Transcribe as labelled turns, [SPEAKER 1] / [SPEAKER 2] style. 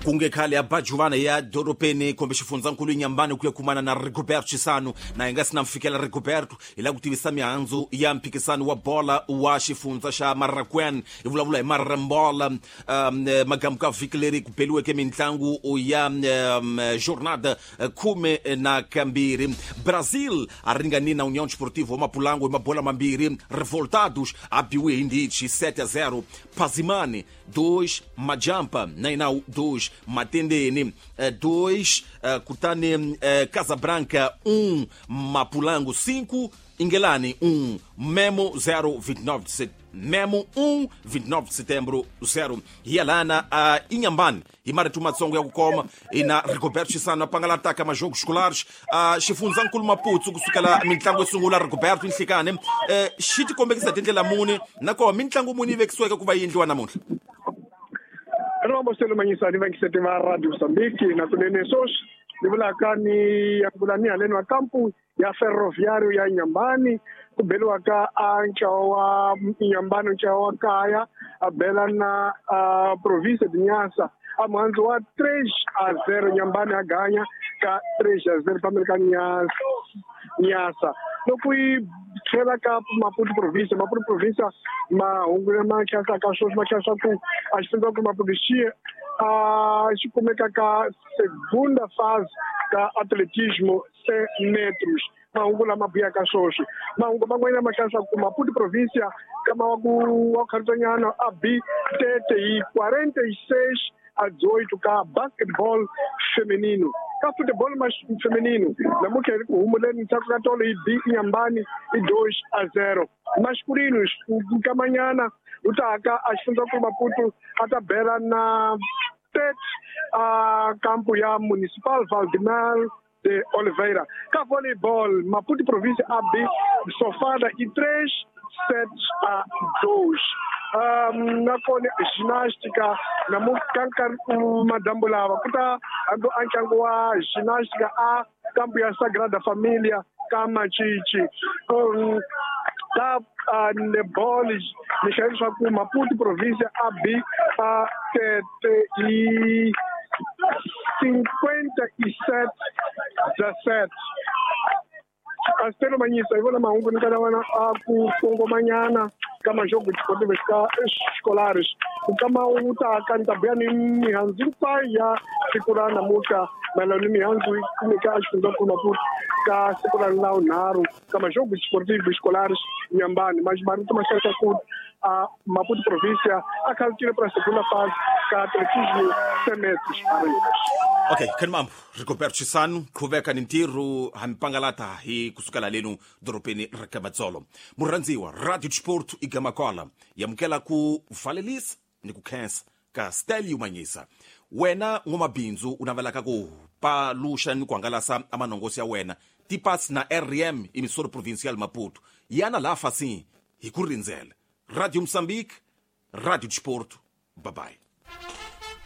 [SPEAKER 1] Kunge khale ya bajuvana ya dorobeni kumbe xifundzankulu Inhambane ku ya kumana na Rigoberto Chisano na hi nga si na mfikela Rigoberto hi lava ku tivisa mihandzu ya mphikisano wa bola wa xifundza xa Marracuene hi vulavula hi Marembola magamu ka vhiki leri ku beliweke mintlangu ya jornada 12. Brazil a ringani na União Desportiva wa Mapulango hi mabola mambirhi. Revoltados a biwe hi ndichi 7-0. Pazimane 2, Majampa Nainau 2, Matendene 2, kutani Casabranca 1, Mapulango 5, Ingelani 1, Memo 0, 29 de setembro. Memo 1, 29 de setembro 0. Hialana a Inhambane hi marito matsongo ya ku koma ina Rigoberto Chisano a pangala ka majogo escolares xifundzankulu Maputo kusukela mitlangu yo sungula Rigoberto Nhlikane xi tikombekisa tindlela muni nakona mitlangu muni yi vekisiweke ku va yi endliwa namuntlha?
[SPEAKER 2] Rombo selo manyisani vangisete va Radio Mozambique na kunene sweswi ni vulaka ni ya vula ni haleni wa kampu ya Ferroviário ya Inhambane ku beliwaka a ntlawa wa Inhambane ntlawa wa kaya a bela na província de Niassa a muhandzu wa 3-0 Inhambane a ganya ka 3-0 pambeni ka Niassa. Loko yi tlhela ka Maputo província, Maputo província mahungu lama khensaka sweswi ma khensa ku a xifundza ku Maputo xi a xi kumeka ka segunda fase ka atletismo 100 metros. Mahungu lama buyaka sweswi mahungu man'wanyana ma hlayisa ku Maputo província kama wa ku wa khansanyana a b tete hi 46-8 ka basketball feminino. Ka football feminino namuntlha hi ri ku humuleni ndzhaku ka tolo hi b Inhambane hi 2-0. Masculino nkamanyana u ta ka a xifundzankulu Maputo a ta bela na tete a kampu ya Municipal Valdemar de Oliveira. Ka volleyball Maputo província a b Sofada i 3-7-2. Nakona ginástica namuntlha ka nkarhi madyambu lava ku ta hambi a ntlangu wa ginástica a kampu ya Sagrada Familia ka Machichi. Ka netball ni hlaya leswaku Maputo província a b a tete hi 57-17. Astelo Manyisa hi vona mahungu ni kana vana a ku kongomanyana ka majogo desportivo escolares nkama wu ta ka ni ta buya ni mihandzu hinkwayo ya siku ra namuntlha mayelana ni mihandzu yi kumeka a xifundzankulu Maputo ka siku ra lavunharhu ka majogo desportivo escolares Inhambane. Marito ma hlayisa ku a Maputo província a khalutile para segunda fase ka atletismo 100 metros.
[SPEAKER 1] Okay, khanimambo Rigoberto Chisano qhuveka ni ntirho hampangalata hi kusukela lenu dorobeni ra Kamatsolo. Murhandziwa Radio Sport igamakwala yamukela ku valelisa ni ku khensa ka Stelio Manyisa. Wena n'wamabindzu u navelaka ku paluxa ni ku hangalasa amanongosi ya wena tipas na RM emissora provincial Maputo yana laha fasini hi ku rindzela. Radio Mozambique, Radio Sport, bye bye.